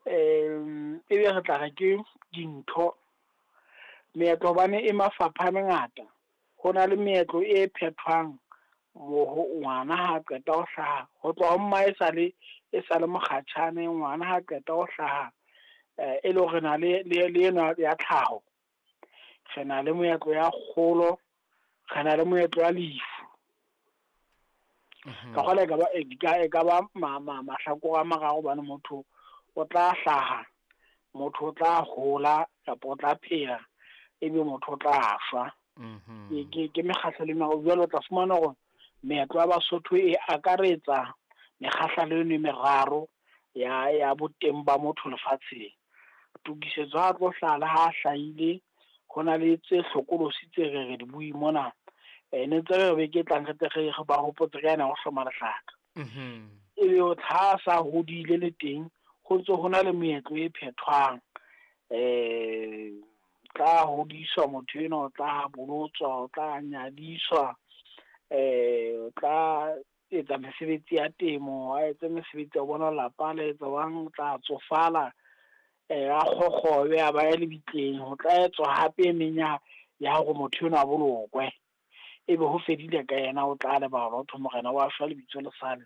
Ebe re tla re ke dintho, meetlo hobane e mafapha a mangata. Ho na le meetlo e phethwang ngwana ha qeta ho hlaha, ho tloha ho mmae e sale mokgatjhane, ngwana ha qeta ho hlaha. E le hore re na le enwa ya tlhaho, re na le moetlo ya kgolo, re na le moetlo wa lefu. Ka kgola e ka ba mahlakore a mararo hobane motho o tla hlaha, motho o tla hola kapa o tla phela, ebe motho o tla shwa. Ke mekgahlelo e meraro. Jwale o tla fumana hore meetlo ya Basotho e akaretsa mekgahlelo eno e meraro ya boteng ba motho lefatsheng. Tokisetso ha tlo hlaha le ha hlahile, ho na le tse hlokolosi tse re re di bui mona. Ne ntse re beke e tlang re tle re ba hopotse ka ena ho hloma lehlaka. Ebe ha sa hodile le teng, ho ntso ho na le meetlo e phethwang. Tla hodiswa motho enwa, o tla bolotswa, o tla nyadiswa, o tla etsa mesebetsi ya temo, a etse mesebetsi ya bona lapa le etsa jwang, o tla tsofala, a kgokgobe a ba ya lebitleng. Ho tla etswa hape e meng ya hore motho enwa a bolokwe. Ebe ho fedile ka yena, o tla lebalwa ho thwe morena wa shwa lebitso le sale.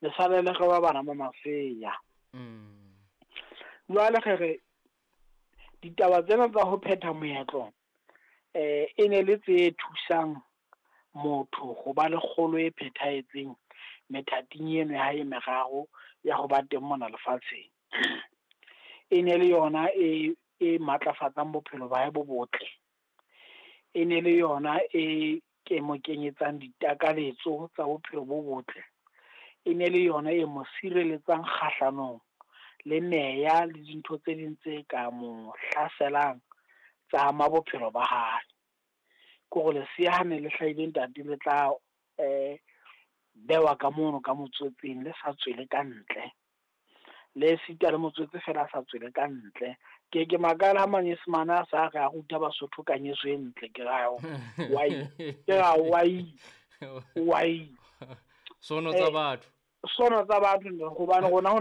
Le sale le re ba bana ba masea. Jwale re re ditaba tsena tsa ho phetha moetlo, e ne le tse thusang motho ho ba le kgolo e phethahetseng methating eno ya hae e meraro ya ho ba teng mona lefatsheng. E ne le yona e matlafatsang bophelo ba hae bo botle. E ne le yona e ke mo kenyetsang ditakaletso tsa bophelo bo botle. E ne le yona e mo sireletsang kgahlanong le meya le dintho tse ding tse ka mo hlaselang tsa ama bophelo ba hae. Ke hore lesea ha ne le hlahile ntate le tla bewa ka mono ka motswetseng, le sa tswele ka ntle. Le sita le motswetse fela a sa tswele ka ntle. Ke makala ha manyesemane a sa re a ruta Basotho ka nyeso e ntle, ke ra why, ke ra why, why. Sono tsa batho. Sono tsa batho, hobane rona ho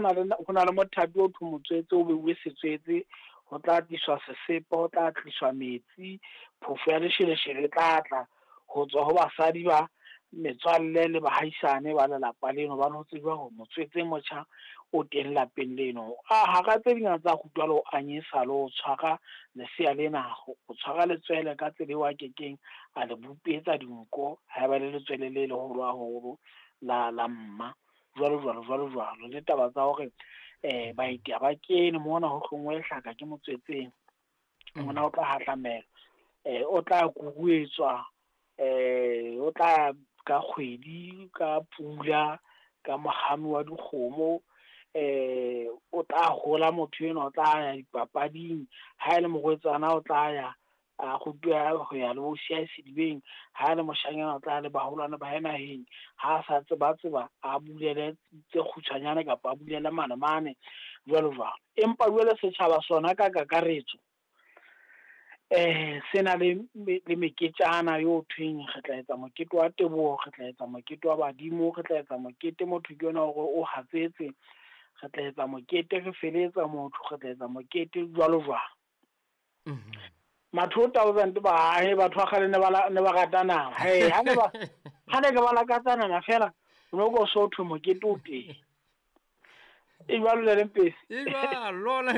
na le mothapi o thwe motswetse, o beuwe setswetse, ho tla tliswa sesepa, ho tla tliswa metsi, phofo ya lesheleshele e tla tla ho tswa ho basadi ba metswalle le bahaisane ba lelapa leno, hobane ho tsejwa hore motswetse motjha o teng lapeng leno. Hara tse ding tsa rutwa le ho anyesa le ho tshwara lesea lena, ho tshwara letswele ka tsela eo a kekeng a le bupetsa dinko haeba le letswele le leholo haholo la mma, jwalo jwalo jwalo jwalo. Le taba tsa hore baeti ha ba kene mona, ho hlongwe lehlaka ke motswetseng, ngwana o tla hahlamelwa, o tla kuruetswa, o tla ka kgwedi, ka pula, ka mohami wa dikgomo, o tla hola motho enwa, o tla ya dipapading, ha e le morwetsana o tla ya a rutwa ho ya le bo siya sedibeng, ha le moshanyana o tla le baholwane ba hae naheng, ha sa tseba tseba a bulele tse kgutshwanyane kapa a bulele mane mane, jwalo jwalo. Empa jwale setjhaba sona ka kakaretso, se na le meketjana eo thweng re tla etsa mokete wa teboho, re tla etsa mokete wa badimo, re tla etsa mokete motho ke yona hore o hatsetse, re tla etsa mokete re feletsa motho, re tla etsa mokete jwalo jwalo. Ma 2000 ba he batho ba kgale ne ba rata nama. He ha ne ke ba lakatsa nama fela, no go so thwe mokete o teng. E jwalo le Mpesi. E jwalo lona.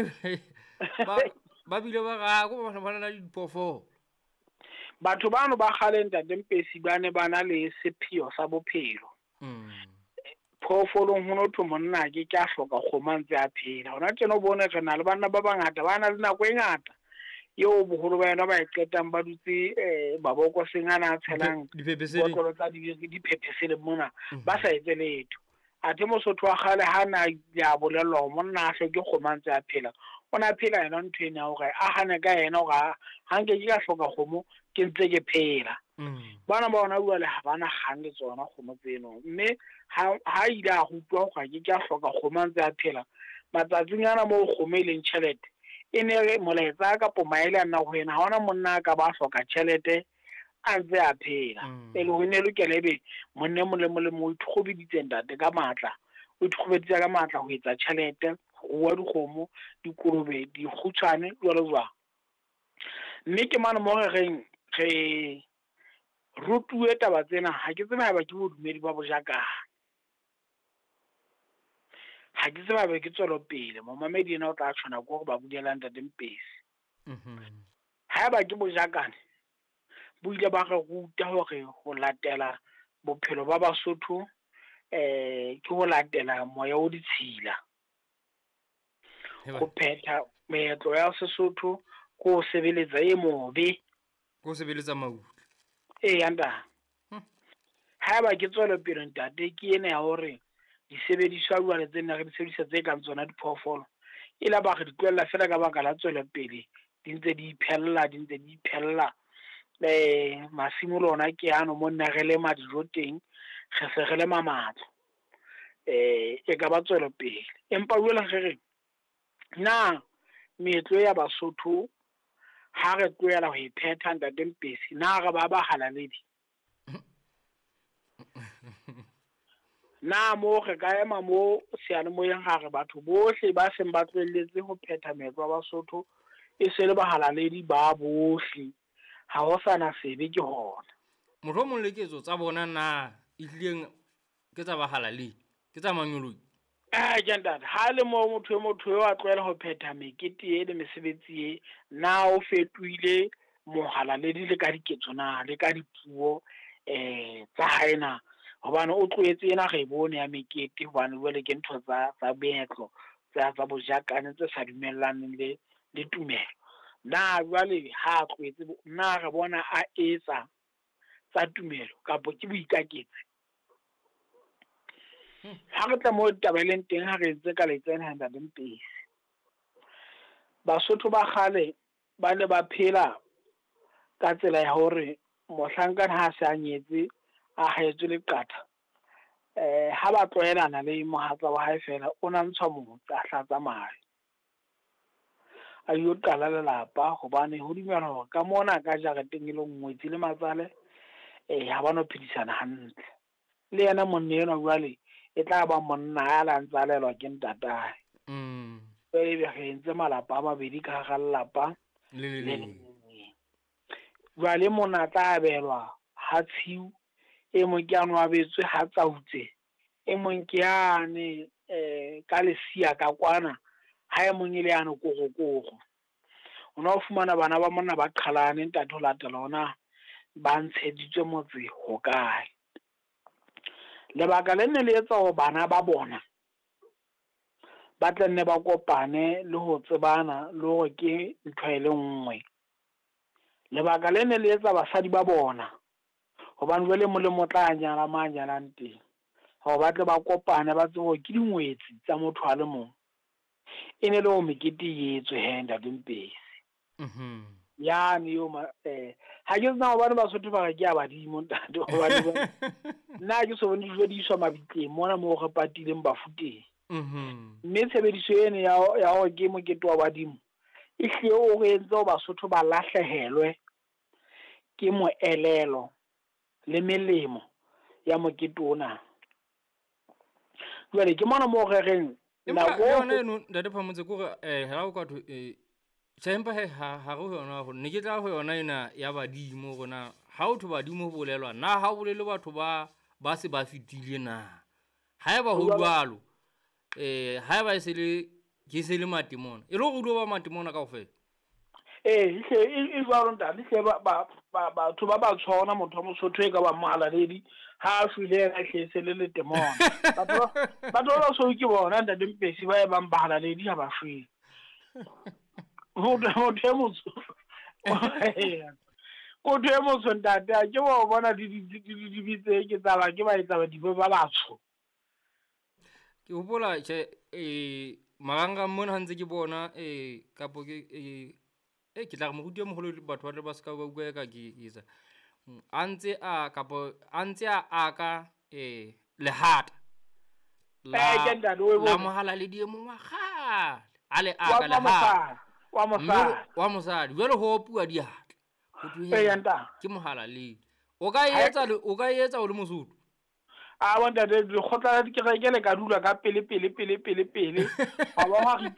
Ba bile ba ra go ba na le diphoofolo. Batho bano ba kgale ntate Mpesi ba ne ba na le sepheo sa bophelo. Phoofolong ho no thwe monna ke a hloka kgomo a ntse a phela. Hona tjena o bone re na le banna ba bangata ba na le nako e ngata eo boholo ba yona ba e qetang ba dutse mabokoseng ana a tshelang botlolo tsa diphepheseleng mona, ba sa etse letho. Athe Mosotho wa kgale ha na ya bolellwa hore monna a hloke kgomo a ntse a phela, o na phela yona ntho ena ya hore a hane ka yena hore ha nke ke ka hloka kgomo ke ntse ke phela. Bana ba ona jwale ha bana kgang le tsona kgomo tseno, mme ha ile a rutwa hore ke ke a hloka kgomo a ntse a phela, matsatsing ana moo kgomo e leng tjhelete, e ne re molaetsa kapo maele a nna ho yena, ha hona monna a ka ba hloka tjhelete a ntse a phela. E le ho ne lokela ebe monna e mong le mong le mong o ikgobeditse ntate ka matla, o ikgobeditse ka matla ho etsa tjhelete, Rua dikgomo, dikolobe, dikgutshwane, jwalo jwalo. Mme ke mane mo re reng re rutuwe taba tsena, ha ke tsebe haeba ke bodumedi ba bojakane. Ha ke tsebe haeba ke tswelopele, momamedi ena o tla tshwana ke hore ba bulela Ntate Mpesi. Haeba ke bojakane, bo ile ba re ruta hore ho latela bophelo ba Basotho ke ho latela moya o ditshila. Ho phetha meetlo ya Sesotho ke ho sebeletsa e mobe. Ke ho sebeletsa mautla. Eya ntate. Haeba ke tswelopele ntate, ke ena ya hore disebediswa jwale tse nna re di sebedisa tse kang tsona diphoofolo, e la ba re di tlohella feela ka baka la tswelopele, di ntse di iphella, di ntse di iphella. Masimo le ona ke ano mo nna re lema dijo teng, re se re lema matlo. E ka ba tswelopele. Empa jwale re re, na meetlo ya Basotho ha re tlohela ho e phetha Ntate Mpesi, na re ba bahalaledi? Na mo re ka ema mo seyalemoyeng ha re batho bohle ba seng ba tlohelletse ho phetha meetlo ya Basotho e se le bahalaledi ba bohle, ha ho sana sebe ke hona. Mohlomong le ketso tsa bona na ehlileng ke tsa bahalaledi, ke tsa manyoloi? Ke ntate, ha le mo motho eo a tlohela ho phetha mekete e le mesebetsi e, na o fetohile mohalaledi le ka diketso na, le ka dipuo tsa hae na? Hobane o tlohetse ena re e bone ya mekete, hobane jwale ke ntho tsa meetlo, tsa bojakane tse sa dumellaneng le tumelo. Na jwale ha a tlohetse, na re bona a etsa tsa tumelo kapa ke boikaketsi? Ha re tla mo taba e leng teng, ha re entse ka letsena Ntate Mpesi. Basotho ba kgale ba ne ba phela ka tsela ya hore mohlankana ha se a nyetse, a haetswe leqatha, ha ba tlohelana le mohatsa wa hae fela, o na ntshwa motse, a hlatsa mahe, a yo qala lelapa, hobane ho dumelwa hore ka mona ka jareteng e le ngwetsi le matsale, ha ba no phedisana hantle. Le yena monna enwa jwale e tla ba monna ya la ntsa lelwa ke ntatae. Ebe re entse malapa a mabedi ka hara lelapa le le leng. Jwale mona tla abelwa ha tshiu, e mong ke ano abetswe ha tsautse, e mong ke ane ka lesia ka kwana, ha e mong e le ano korokoro. O no fumana bana ba monna ba qhalane ntate ho latela ona ba ntsheditswe motse hokae. Lebaka le ne le etsa hore bana ba bona ba tla nne ba kopane le ho tsebana le hore ke ntho e le nngwe. Lebaka le ne le etsa basadi ba bona, hobane jwale molemo tla nyala ma nyalang teng, hore ba tle ba kopane ba tsebe hore ke dingwetsi tsa motho a le mong. E ne le hore mekete e etswe he Ntate Mpesi. Yane yo ha ke tsena hobane Basotho ba re ke a badimo ntate, hobane nna ke so bone dijo di iswa mabitleng mona moo re patileng bafu teng. Mme tshebediso ena ya hore ke mokete wa badimo e hlile o re entse hore Basotho ba lahlehelwe ke moelelo le melemo ya mokete ona. Jwale ke mona moo re reng nako yona eno Ntate Phamotse, ke hore ha o ka thwe tjhe, empa he ha re ho yona, ne ke tla ho yona ena ya badimo rona. Ha o thwe badimo ho bolelwa na, ha o bolele batho ba se ba fetile na? Haeba ho jwalo, haeba e se le ke se le matemona, e le hore o tlo ba matemona kaofela. E jwalo ntate, hle batho ba ba tshwana, motho wa Mosotho e ka ba mohalaledi ha a shwele yena hle e se le letemona. Batho ba basweu ke bona Ntate Mpesi ba e bang bahalaledi ha ba shwele. Motho e motsho. Motho e motsho ntate, a ke wa bona di tse ke tsa ba ke ba etsa badimo ba batsho. Ke hopola tjhe, marangrang mona ha ntse ke bona, kapo ke, ke tla re moruti e moholo batho ba tle ba ska ba utlwa eka ke etsa. A ntse a, kapo a ntse a aka, lehata. Ke ntate, o e La bone. mohalaledi e mong wa kgale. A le Wa aka lehata. wa mosadi. Mme wa mosadi. Jwale ho opuwa diatla. Ho thwe Eya, ntate. ke mohalaledi. O ka etsa le, o ka etsa o le Mosotho? A bontate, lekgotla la dikereke le ka dula ka pele pele pele pele pele. Wa ba wa ritea